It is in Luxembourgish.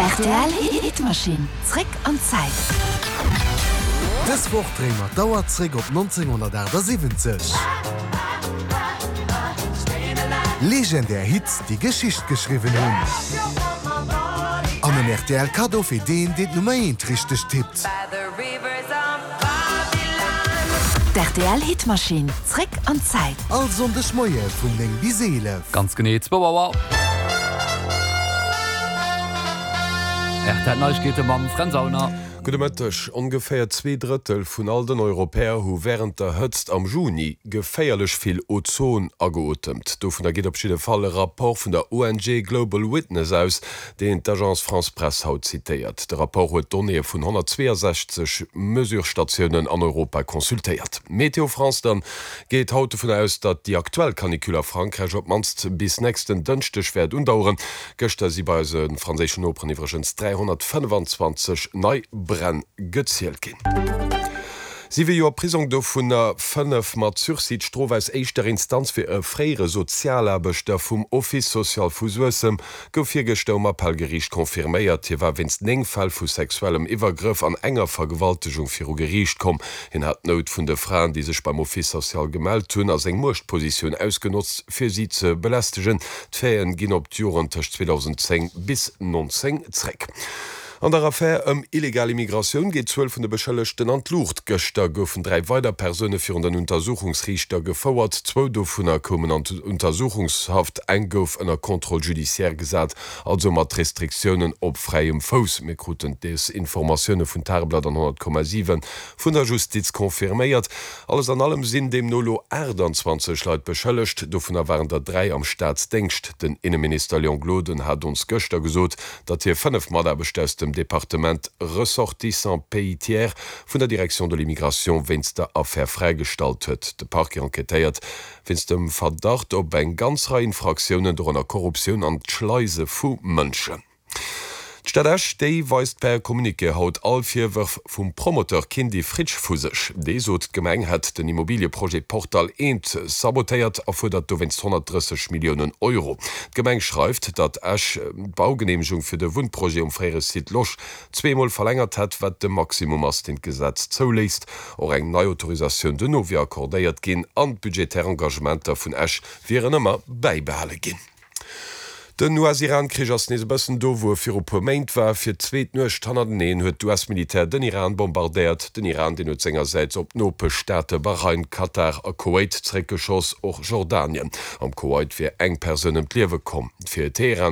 Rtl Hitmaschinn, zréck an d'Zäit. Dës Woch dréie mer d'Auer zréck op 1978. Legendär Hits, déi Geschicht geschriwwen hunn. An en rtl Kaddo fir deen, deen d'Nummer eent richteg tippt. D'RTL Hitmaschinn, zréck an d'Zäit. All Sonndeg Moie vun 9 bis 11. Ganz genee zwou Auer. RTL Neiegkeete mam Fränz Aulner. Gudde Mëtteg. Ongeféier 2/3 vun all den Europäer hu wärend der Hëtzt am Juni geféierlech vill Ozon ageotemt. Dovunner geet op jidde Fall e Rapport vun der ONG Global Witness aus, deen d'Agence France-Presse haut zitéiert. De Rapport huet d'Donnéeë vun 162 Mesurestatiounen an Europa consultéiert. Météo France dann geet haut dovun aus, datt déi aktuell Canicule a Frankräich op d'mannst bis nächsten Dënschdeg wäert undaueren. Gëschter si bei eise franséischen Noperen iwwregens 325 nei Bränn gezielt ginn. Siwe Joer Prisong, dovunner 5 mat Sursis. D'Strof aus éischter Instanz fir e fréiere Sozialaarbechter vum Office social vu Suessem gouf virgëschter um Appellgeriicht confirméiert. Hie war wéinst 9 Fäll vu sexuellem Iwwergrëff an enger Vergewaltegung viru Geriicht komm. Hien hat d'Nout vun de Fraen, déi sech beim Office social gemellt hunn, a seng Muechtpositioun ausgenotzt, fir si ze belästegen. D'Faiten ginn op d'Joren tëscht 2010 bis 19 zréck. An der Affär ëm illegal Immigratioun geet d'Zuel vun de Beschëllegten an d'Luucht. Gëschter goufen 3 weider Persoune virun den Untersuchungsriichter gefouert. Zwou dovunner koumen an d'Untersuchungshaft, eng gouf ënner Contrôle judiciaire gesat, also mat Restriktiounen op fräiem Fouss. Mir kruten des Informatioune vun Tageblatt an 100,7 vun der Justiz confirméiert. Alles an allem sinn deemno elo 28 Leit beschëllegt, dovunner waren der 3 am Staatsdéngscht. Den Inneminister Léon Gloden hat ons gëschter gesot, datt hie 5 Mataarbechter aus dem Departement Ressortissants pays tiers vun der Direction de l'immigration wéinst der Affär fräigestallt huet. De Parquet enquêtéiert wéinst dem Verdacht op eng ganz Rei Infraktiounen, dorënner Korruptioun an d'Schleise vu Mënschen. D'Stad Esch, déi weist per Communiqué haut all Virwërf vum Promoteur Kindy Fritsch vu sech. Dee sot, d'Gemeng hätt den Immobilieprojet Portal Eent sabotéiert a fuerdert dowéinst 130 Milliounen Euro. D'Gemeng schreift, datt Esch d'Baugeneemegung fir de Wunnprojet um fréiere Site Losch zweemol verlängert hätt, wat de Maximum ass, deen d'Gesetz zouléisst. Och eng nei Autorisatioun dono wier accordéiert ginn an d'budgetär Engagementer vun Esch wieren ëmmer bäibehale ginn. Den US-Iran-Krich ass nees e bëssen do, wou e viru puer Méint war. Fir d'zweet Nuecht hannerteneen huet d'US-Militär den Iran bombardéiert. Den Iran, deen huet sengersäits op d'Nopeschstaate Bahrain, Katar a Kuwait zeréckgeschoss, och Jordanien. Am Kuwait wier eng Persoun ëm d'Liewe komm. Fir Teheran.